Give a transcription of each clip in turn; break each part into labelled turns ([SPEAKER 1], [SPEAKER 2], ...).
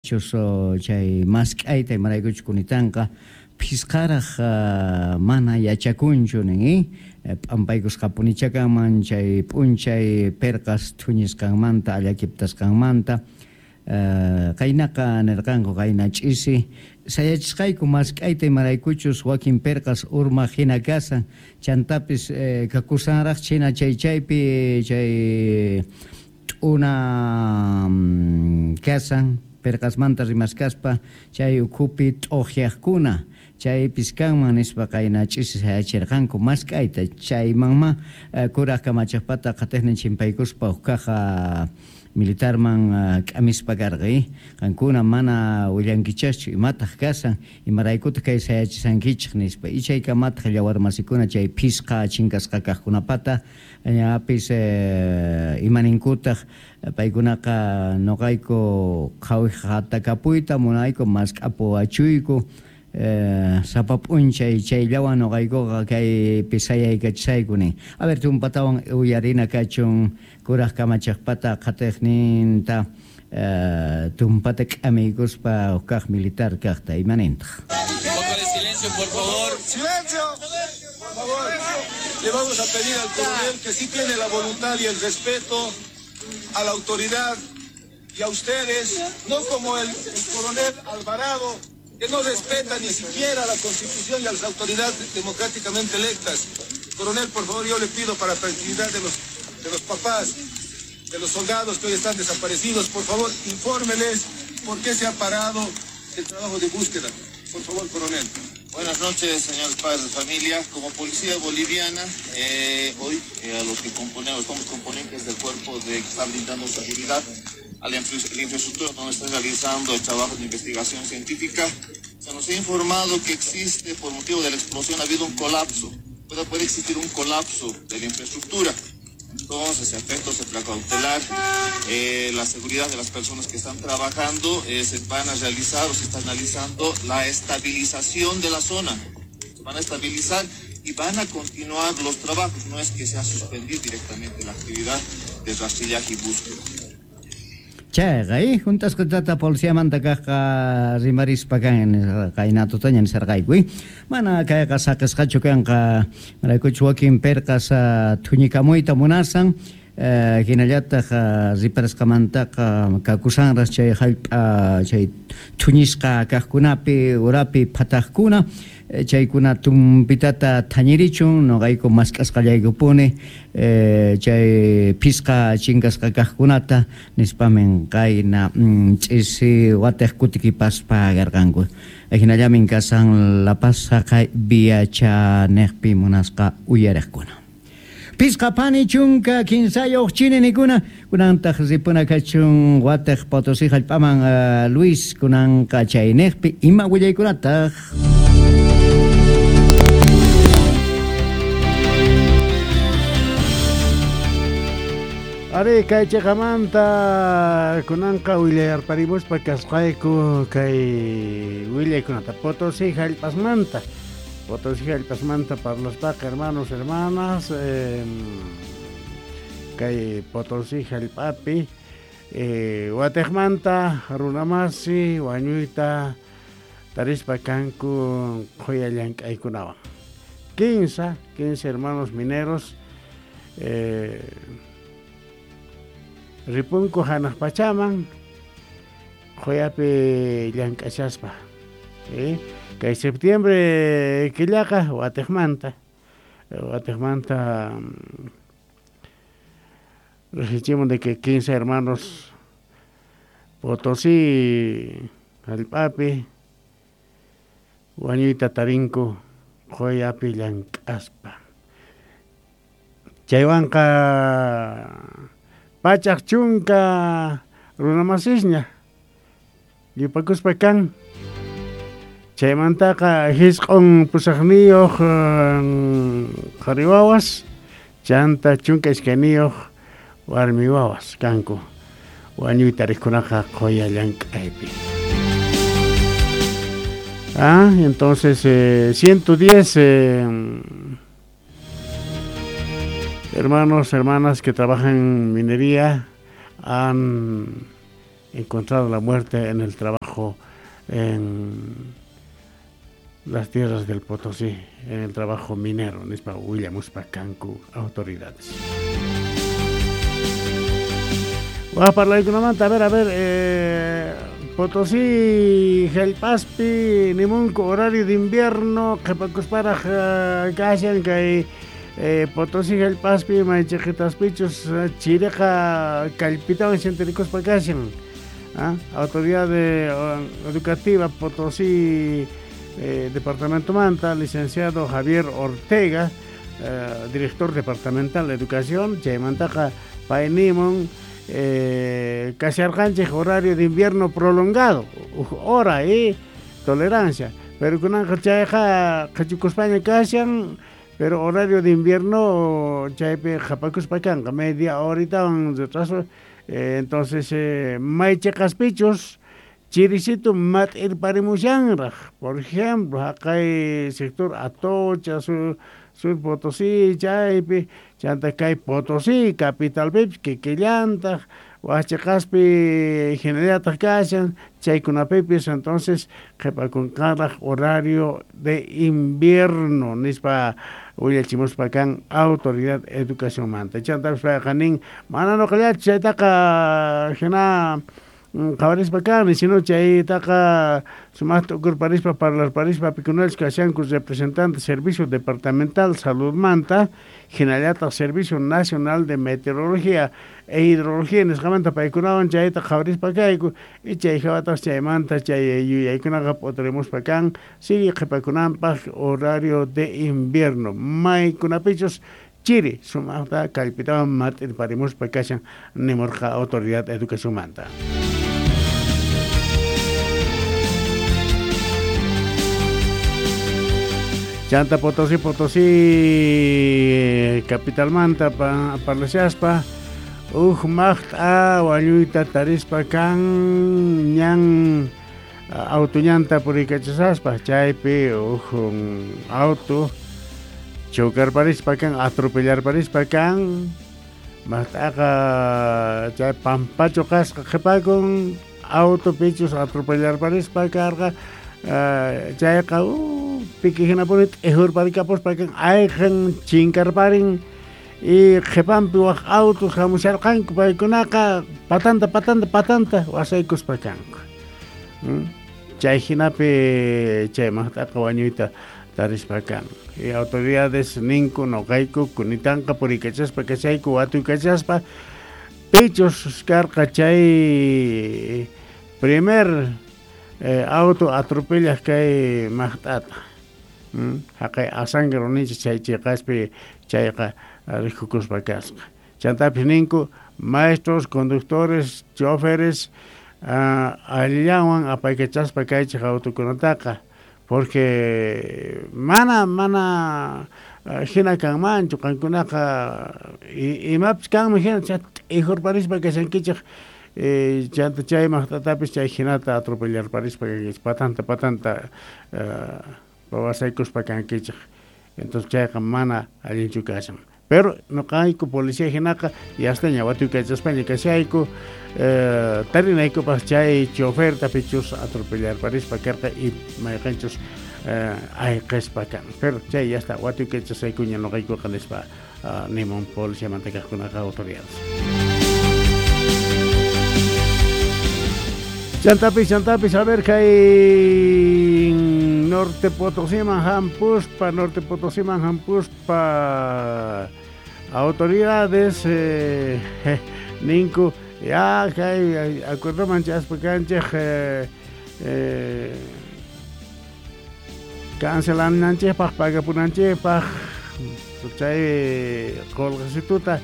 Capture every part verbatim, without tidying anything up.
[SPEAKER 1] sayachus chay mask'ayta imaraykuchu kunitanqa phisqaraq mana yachakunchu nin p'ampaykusqapunicha kanman chay p'unchay perqas thuñisqanmanta allakiptasqanmanta qaynaqa nirqanku qayna ch'isi sayachisqayku mask'ayta imaraykuchus wakin perqas urmaq hina kasan chantapis kakusanraq china chay chaypi chay t'una kasan perqasmanta rimaskaspa chay ukhupi t'uqyaqkuna chaypis kanman nispa qayna ch'isi sayachirqanku mask'ayta chaymanma kuraq kamachaqpata qatiqnin chimpaykuspa huk kaq militarman k'amispa karqa qankuna mana willankichaschu imataq kasan imaraykutaq kay sayachisankichik nispa ichaykamataq llawarmasikuna chay phisqa chinkasqa kaqkunapata ñapis imaninkutaq paykunaqa nuqayku qhawiqatakapuyta munayku mask'apuwachuyku sapa p'unchay chayllawan nuqaykuqa kaypi sayaykachisayku nin. A ver, tumpatawan uyarina kachun kuraq kamachaqpata qatiqninta tumpata k'amiykuspa huk militar kaqta imanintaq.
[SPEAKER 2] Un poco de silencio, por favor.
[SPEAKER 3] ¡Silencio! Por favor. Le vamos a pedir al coronel que sí tiene la voluntad y el respeto a la autoridad y a ustedes, no como el, el coronel Alvarado, que no respeta ni siquiera la Constitución y a las autoridades democráticamente electas. Coronel, por favor, yo le pido para tranquilidad de los, de los papás, de los soldados que hoy están desaparecidos, por favor, infórmeles por qué se ha parado el trabajo de búsqueda. Por favor, coronel.
[SPEAKER 2] Buenas noches, señores padres de familia. Como policía boliviana, eh, hoy eh, a los que componemos, somos componentes del cuerpo de que está brindando seguridad a la, infra la infraestructura donde está realizando el trabajo de investigación científica. Se nos ha informado que existe, por motivo de la explosión, ha habido un colapso. Puede, puede existir un colapso de la infraestructura. Entonces, efectos de precautelar eh, la seguridad de las personas que están trabajando, eh, se van a realizar o se está analizando la estabilización de la zona. Se van a estabilizar y van a continuar los trabajos. No es que se ha suspendido directamente la actividad de rastrillaje y búsqueda.
[SPEAKER 1] Chayqa, juntasqa tata policiamanta kaqqa rimarispa kan qayna tutaña nisarqayku, mana kayqa saqisqachu kanqa maraykuchu wakin perqas thuñikamuyta munasan hinallataq riparasqamantaqa kakusanras chay hallp'a chay thuñisqa kaqkunapi urapi phataqkuna chaykuna tumpitata thañirichun nuqayku mask'asqallaykupuni chay phisqa chinkasqa kaqkunata nispamin qayna ch'isi watiq kutikipaspa karqanku. Hinallamin kasan La Paz haqay viachaniqpi munasqa uyariqkuna. Pisqa pani chunka kinsayuq chininikuna kunantaq ripuna kachun watiq Potosí hallp'aman Luis kunanqa chayniqpi ima willaykunataq.
[SPEAKER 4] Ari kay chiqamanta kunanqa willayarparimuspa kasqayku kay willaykunata Potosí hallp'asmanta. Potosí hallp'asmanta parlaspaqa hermanos, hermanas, eh, kay Potosí hallp'api eh, watiqmanta runamasi wañuyta tarispa kanku qhuya llank'aykunawan. Quince, quince hermanos mineros eh, ripunku hanaq pachaman qhuyapi llank'ashaspa. Eh, kay septiembre killaqa watiqmanta watiqmanta registramos de que quince hermanos Potosí hallp'api wañuyta tarinku qhuyapi llank'aspa. Chaywanqa pachaq chunka runamasisña yupakuspa kan. Chaymantaqa hisq'un pusaqniyuq qhari wawas chanta chunka iskayniyuq warmi wawas kanku wañuyta riqkunaqa qhuya llank'aypi. Ah, entonces eh, ciento diez eh, hermanos, hermanas que trabajan en minería han encontrado la muerte en el trabajo en las tierras del Potosí, en el trabajo minero, nispa willamuspa kanku autoridades. Waj parlaykunamanta, a ver, a ver, eh, Potosí, Jallp'aspi, nimunku horario de invierno, qhipakusparaq kashan kay eh, Potosí, Jallp'aspi, maychiqitaspichus chiriqa kallpitawan sintirikuspa kashan. ¿Ah? Autoridad de, educativa Potosí, eh, Departamento Manta, licenciado Javier Ortega, eh, director departamental de educación, chaymantaqa pay nimun, eh, kasharqanchik horario de invierno prolongado, hora y tolerancia, pero kunanqa chayqa qhichukuspaña kashan, pero horario de invierno chaypi qhapakuspa kanqa media horitawan retraso, eh, entonces eh, maychiqaspichus chirisitu mat'irparimushanraq, por ejemplo, haqay sector Atocha, sur, sur Potosí, chaypi, chanta kay Potosí, capitalpipis kikillantaq, waqchiqaspi hinallataq kashan, chaykunapipis, entonces qhipakunqaraq horario de invierno, nispa willachimuspa kan autoridad educación manta. Chantapis payqa nin, mana nuqallachu chaytaqa hina qhawarispa kani, sino chaytaqa sumaqta ukurparispa parlarparispa pikunachus kashanku representante Servicio Departamental Salud Manta, hinallataq Servicio Nacional de Meteorología e Hidrología nisqamanta paykunawan chayta qhawarispa kayku, y chay hawataq chaymanta chay yuyaykunaqa p'uturimuspa kan sigue qhipakunanpaq horario de invierno, maykunapichus chiri sumaqta kallpitawan mat'irparimuspa kashan nimurqa autoridad educación manta. Chanta Potosí, Potosí, capital manta pa, parlashaspa, uj maqt'a wañuyta tarispa kan ñan auto ñanta puriykachasaspa, chaypi uj auto chocarparispa kan, atropellarparispa kan, maqt'aqa chay pampachu kasqa qhipakun, auto pichus atropellarparispa karqa, uh, chayqa uh, piki hinapuni t'ijurparikapuspa kan, ayqin chinkarparin, y qhipanpi waq autos hamusharqanku paykunaqa patanta patanta patanta wasaykuspa kanku. ¿Mm? Chay hinapi chay maqt'aqa wañuyta tarispa kan. Y autoridades ninku nuqayku kunitanqa puriykachaspa kachayku watuykachaspa pichus karqa chay primer eh, auto atropellaq kay maqt'ata. ¿Mm? Haqay asangra ninchik chay chiqaspi chayqa rikukuspa kasqa. Chantapis ninku maestros, conductores, choferes uh, allillawan apaykachaspa kaychik autokunataqa, porque mana mana uh, hina kanmanchu qankunaqa imapis kanman hina t'ijurparispa kashankichik, eh, chanta chay maqt'atapis chay hinata atropellarparispa kankichik, patanta patanta uh, wasaykuspa kankichik. Entonces chayqa mana allinchu kashan. Pero nuqayku policía hinaqa yastaña watuykachaspaña kashayku, eh, tarinaykupaq chay choferta pichus atropellarparispa karqa y mayqanchus eh, ayqispa kan. Pero chay yasta watuykachasaykuña nuqaykuqa nispa uh, nimun policiamanta kaqkunaqa autoridades. Chantapis, chantapis, a ver, kay Norte Potosíman hampuspa, Norte Potosíman hampuspa, autoridades, eh, ninku, ya, kay, acuerdoman chaspa kanchik, eh, eh, cancelananchikpaq, pagapunanchikpaq, chay qulqisituta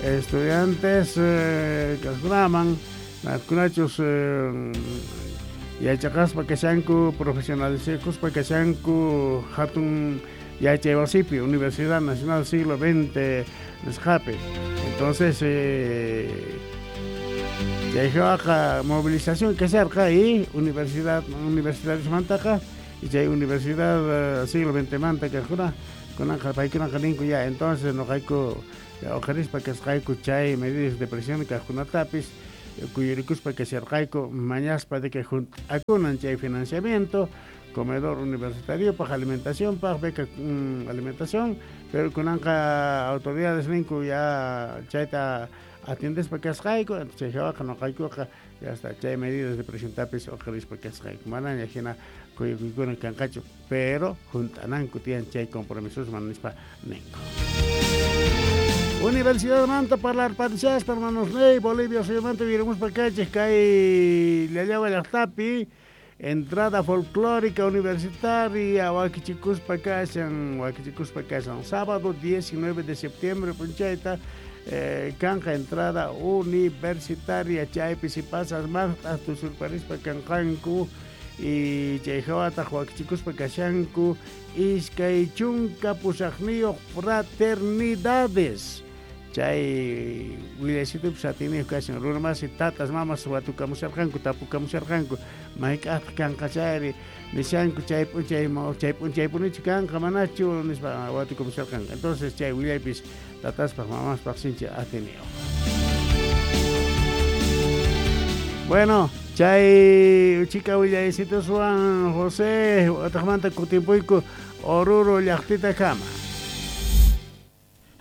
[SPEAKER 4] estudiantes, eh, kaqkunaman, kunachus eh, yachaqaspa kashanku, profesionalizakuspa kashanku hatun yachaywasipi, Universidad Nacional Siglo veinte nisqapi. Entonces eh, chayqa movilización kasharqa y universidad universidadesmantaqa y chay universidad eh, siglo veinte manta kaqkuna kunanqa paykunaqa ninku ya, entonces nuqayku uqharispa kasqayku chay medidas de presión kaqkunatapis. Kuyurikuspa kasharqayku mañaspa de que junt'akunan chay financiamiento comedor universitario paj alimentación paj beca mm, alimentación, pero kunanqa autoridades ninku ya chayta atiendespa kasqayku, chay hawaqa nuqaykuqa ya está chay medidas de presión tapis uqarispa kasqayku, manaña hina kuyukuykuna kanqachu, pero junt'ananku tiyan chay compromisosman nispa ninku. Universidad manta parlarparishaspa hermanos ney Bolivia suyumanta virumuspa kaychik kay Llallawa llaqtapi entrada folclórica universitaria wakichikuspa kashan wakichikuspa kashan sábado diecinueve de septiembre p'unchayta eh, kanja entrada universitaria chaypi sipasas maqt'aq tusurparispa kanqanku y chay hawataq wakichikuspa kashanku iskay chunka pusaqniyuq fraternidades chay willasitupis atiniyuq kashan runa masi tatas mamas watukamusharqanku tapukamusharqanku mayk'aqtaq kanqa chayri nishanku chay p'unchay chay p'unchaypunichu kanqa manachu nispa watukamusharqanku entonces chay willaypis tataspaq mamaspaq sinchi atiniyuq. Bueno, chay uchika willaysituswan José wataqmanta kutimpuyku Oruro llaqtitakama.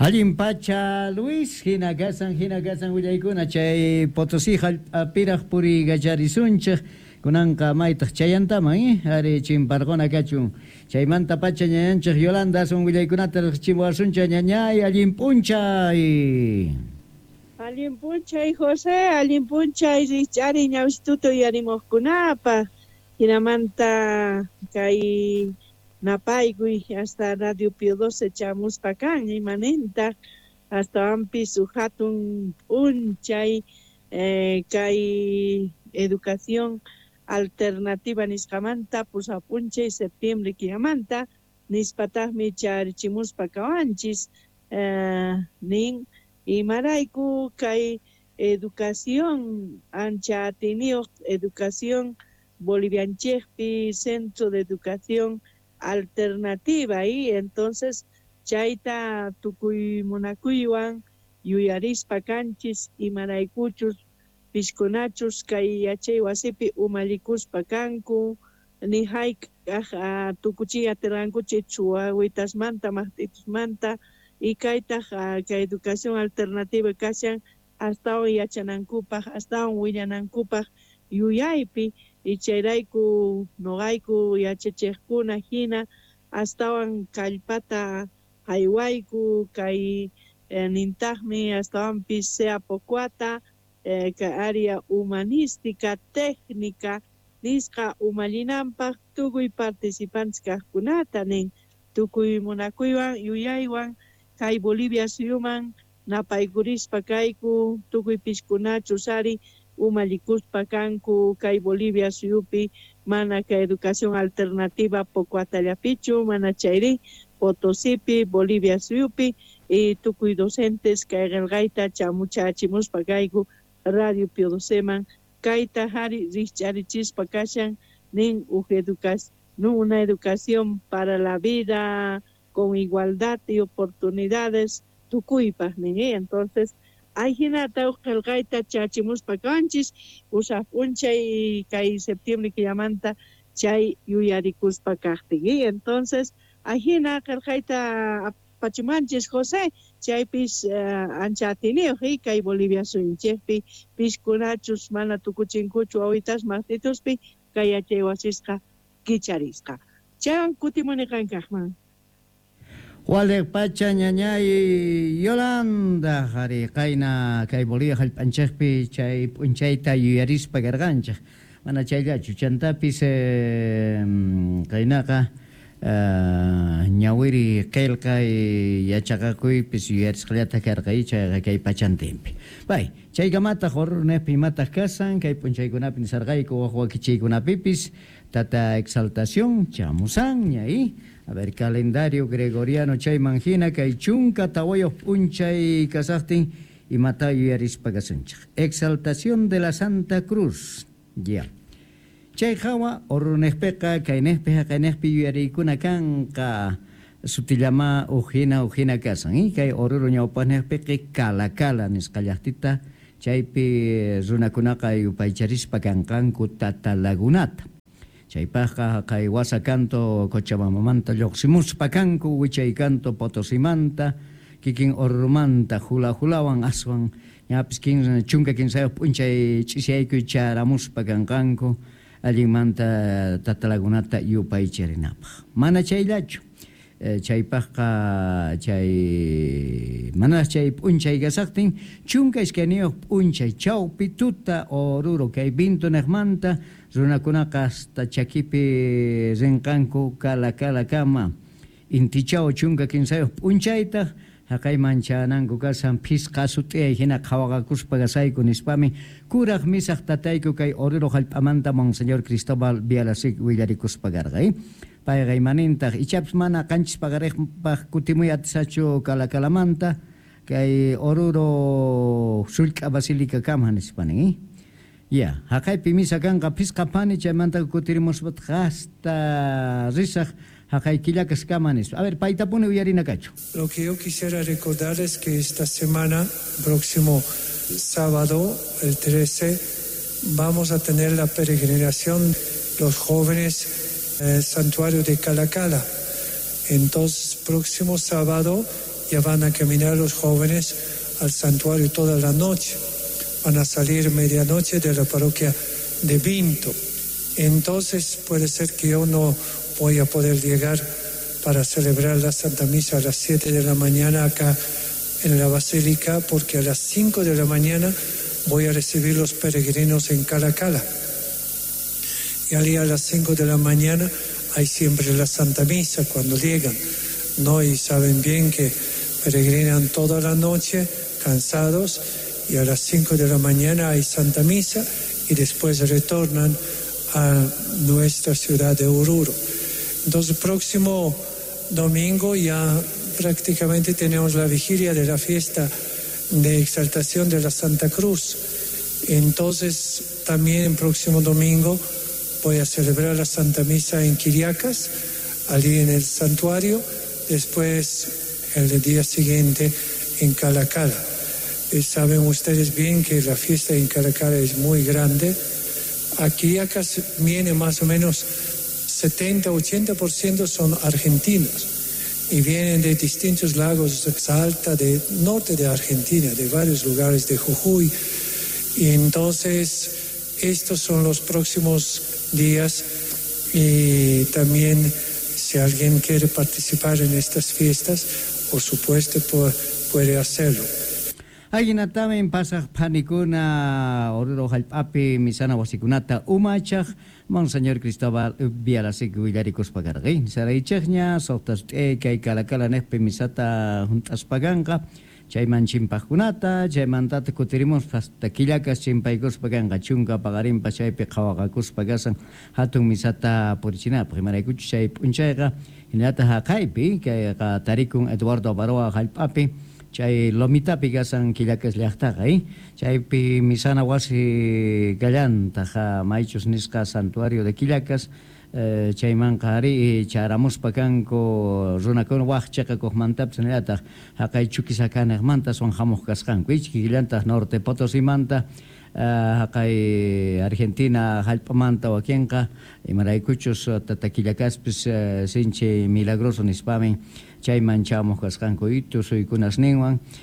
[SPEAKER 1] Allin pacha Luis, hina kasan, hina kasan willaykuna chay Potosí hallp'apiraq puriykacharisunchik kunanqa maytaq chayantaman eh ari chimparquna kachun chaymanta pacha ñañanchik Yolanda asun willaykunata riqchimuwasunchik ñañay allin p'unchay.
[SPEAKER 5] Allin p'unchay José, allin p'unchay rikch'ari ñawsituta uyarimuqkunapaq hinamanta kay napaykuy hasta Radio Pío doce chamuspa kan imanintaq astawanpis huk hatun p'unchay eh, kay educación alternativa nisqamanta pusaq p'unchay septiembre killamanta nispataqmi charichimuspa kawanchis eh, nin imarayku kay educación ancha atiniyuq educación bolivianchikpi centro de educación alternativa y entonces chayta tukuy munakuywan yuyarispa kanchis imaraykuchus piskunachus kay yachay wasipi umallikuspa kanku ni hayk'aq tukuchiy atirqankuchik chuwawitasmanta maqt'itusmanta y kaytaq kay educación alternativa kashan astawan yachanankupaq astawan willanankupaq yuyaypi y chayrayku noqayku yachachiqkuna hina astawan kallpata haywayku kay eh, nintaqmi astawanpis sea pocuata eh, kay área humanística técnica nisqa umallinanpaq tukuy participantes kaqkunata nin tukuy munakuywan yuyaywan kay Bolivia suyuman napaykurispa kayku tukuy piskunachus ari umallikuspa kanku kay Bolivia suyupi mana kay educación alternativa pocuatallapichu mana chayri Potosipi Bolivia suyupi y tukuy docentes kay qillqayta chamuchachimuspa kayku Radio Pío doceman kayta hari rikch'arichispa kashan nin huk educación una educación para la vida con igualdad y oportunidades tukuypaq nin entonces ay hinata huk qillqayta chachimuspa kanchis pusaq p'unchay kay septiembre killamanta chay yuyarikuspa kaqtin y entonces ahina qillqayta apachimanchis José chaypis uh, ancha atiniyuq kay Bolivia suyunchikpi piskunachus mana tukuchinkuchu wawitas maqtituspi kay yachay wasisqa kicharisqa chaywan kutimuni qankaqman.
[SPEAKER 1] Waliq pacha ñañay Yolanda qhari qayna kay Bolivia hallp'anchikpi chay p'unchayta yuyarispa karqanchik mana chayllachu chantapis eh, qaynaqa eh, ñawiri qillqay yachaqakuypis yuyarisqallata karqa chayqa kay pachantinpi bay chaykamataq Oruro-niqpi imataq kasan kay p'unchaykunapi nisarqayku wak wakichiykunapipis tata exaltación chamusanña y a ver calendario gregoriano chayman hina kay chunka tawayuq p'unchay kasaqtin imata yuyarispa kasunchik exaltación de la Santa Cruz ya chay hawa Oruro-niqpiqa kayniqpi haqayniqpi yuyariykuna kanqa sutillama ujina ujina kasan y kay Oruro ñawpaqniqpiqa Cala Cala nisqa llaqtita Chaypi runakunaqa yupaycharispa kanqanku Tata Lagunata. Chaypaqqa kay wasa kanto Cochabambamanta lluqsimuspa kanku, wichay kanto Potosimanta, kikin Orurumanta hula hulawan aswan ñapis kinsa chunka kinsayuq p'unchay ch'isiyaykuy charamuspa kanqanku allinmanta Tata Lagunata yupaycharinapaq. Mana chayllachu, chaypaqqa chay mana chay p'unchay kasaqtin chunka iskayniyuq p'unchay chawpi tuta Oruro kay Vinto niqmanta runakunaqa hasta chakipi rinqanku Cala Calakama. Intichaw chunka kinsayuq p'unchaytaq haqayman chananku kasan phisqa sut'iyay hina qhawaqakuspa kasayku nispami kuraq misaq tatayku kay Oruro hallp'amanta Monseñor Cristóbal Bialasik willarikuspa karqa. Payqa imanintaq ichapis mana qanchis paqariqpaq kutimuy atisachu Cala Calamanta kay Oruro sullk'a basílica kama nispa nin. Ya, haqaypi misa kanqa phisqa phani, chaymanta kutirimuspataq hasta risaq haqay Quillacas kama nispa. A ver, paytapuni uyarina kachu.
[SPEAKER 6] Lo que yo quisiera recordar es que esta semana, próximo sábado, el trece, vamos a tener la peregrinación los jóvenes en el santuario de Calacala. Entonces, próximo sábado ya van a caminar los jóvenes al santuario toda la noche. Van a salir medianoche de la parroquia de Vinto. Entonces puede ser que yo no voy a poder llegar para celebrar la Santa Misa a las siete de la mañana acá en la Basílica, porque a las cinco de la mañana voy a recibir los peregrinos en Calacala. Y allí a las cinco de la mañana hay siempre la Santa Misa cuando llegan, ¿no? Y saben bien que peregrinan toda la noche cansados, y a las cinco de la mañana hay Santa Misa y después retornan a nuestra ciudad de Oruro. Entonces, próximo domingo ya prácticamente tenemos la vigilia de la fiesta de exaltación de la Santa Cruz. Entonces, también el próximo domingo voy a celebrar la Santa Misa en Quillacas, allí en el santuario, después el día siguiente en Calacala. Eh, saben ustedes bien que la fiesta en Calacala es muy grande. A Quillacas viene más o menos setenta, ochenta por ciento son argentinos y vienen de distintos lagos de Salta, del norte de Argentina, de varios lugares de Jujuy. Y entonces estos son los próximos días, y también si alguien quiere participar en estas fiestas, por supuesto puede hacerlo.
[SPEAKER 1] Ayinatamin pasaq phanikuna Oruro hallp'api misana wasikunata umachaq Monseñor Cristóbal Bialasik willarikuspa karqay. Saraychaqña suqta kay Calacala niqpi misata hunt'aspa kanqa chayman chimpaqkunata, chaymantata kutirimuspa hasta Quillacas chimpaykuspa kanqa chunka paqarinpas chaypi qhawaqakuspa kasan hatun misata purichinapaq. Imaraykuchus chay p'unchayqa hinallataq haqaypi kayqa tarikun Eduardo Abaroa hallp'api chay lomitapi kasan Quillacas llaqtaqa, eh? Chaypi misana wasi kallantaq maychus nisqa santuario de Quillacas, eh, chaymanqa ari charamuspa kanku runakuna waq chiqakuqmantapis hinallataq haqay Chuquisaca niqmanta aswan hamuq kasqanku, kikillantaq Norte Potosimanta, haqay Argentina hallp'amanta wakinqa imaraykuchus tata Quillacaspis sinchi milagroso nispamin chayman chamuq kasqanku tusuykunasninwan.